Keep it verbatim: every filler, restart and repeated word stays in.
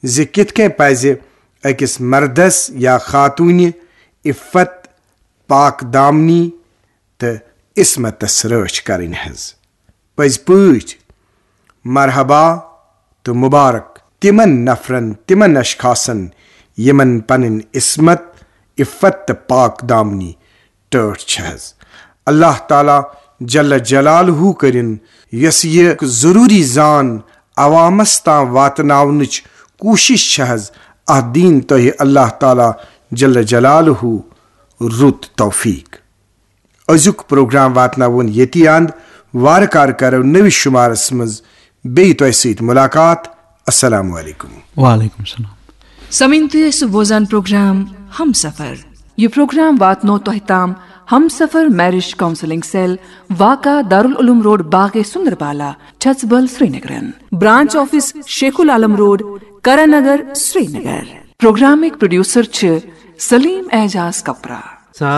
زِ کِتھ کٔنۍ پزِ أکِس مردس یا خاتوٗنہِ عفت، پاک دامنی تہٕ عصمتس رٲچھ کرٕنۍ حظ۔ پٔزۍ پٲٹھۍ مرحبا تہٕ مبارک تِمن نفرن، تِمن اشخاصن، یِمن پنٕنۍ عصمت، عفت تہٕ پاک دامنی ٹٲٹھ چھِ حظ۔ اللہ تعالیٰ جل جلالہ کٔرِن یۄس یہِ ضروٗری زان عوامس تام واتناونٕچ کوٗشش چھِ حظ، اتھ دِیِن تۄہہِ اللہ تعالیٰ جل جلالہ رُت توفیق۔ أزیُک پروگرام واتناوون ییٚتی اند۔ وارٕ کارٕ کرو نٔوِس شُمارس منٛز بیٚیہِ تۄہہِ سۭتۍ ملاقات۔ السلام علیکم۔ وعلیکم السلام۔ سمعین، تُہۍ ٲسِو بوزان پروگرام ہم سفر۔ یہِ پروگرام واتنو تۄہہِ تام ہم سفر میرج کاؤنسلنگ سیل، واقع دارالعلوم روڈ، باغ سندربالا، چھژبل، سرینگرن۔ برانچ آفس شیخ العالم روڈ، کرن نگر، سرینگر۔ پروگرامٕکۍ پروڈیوسر چھِ سلیم اعجاز کپرا۔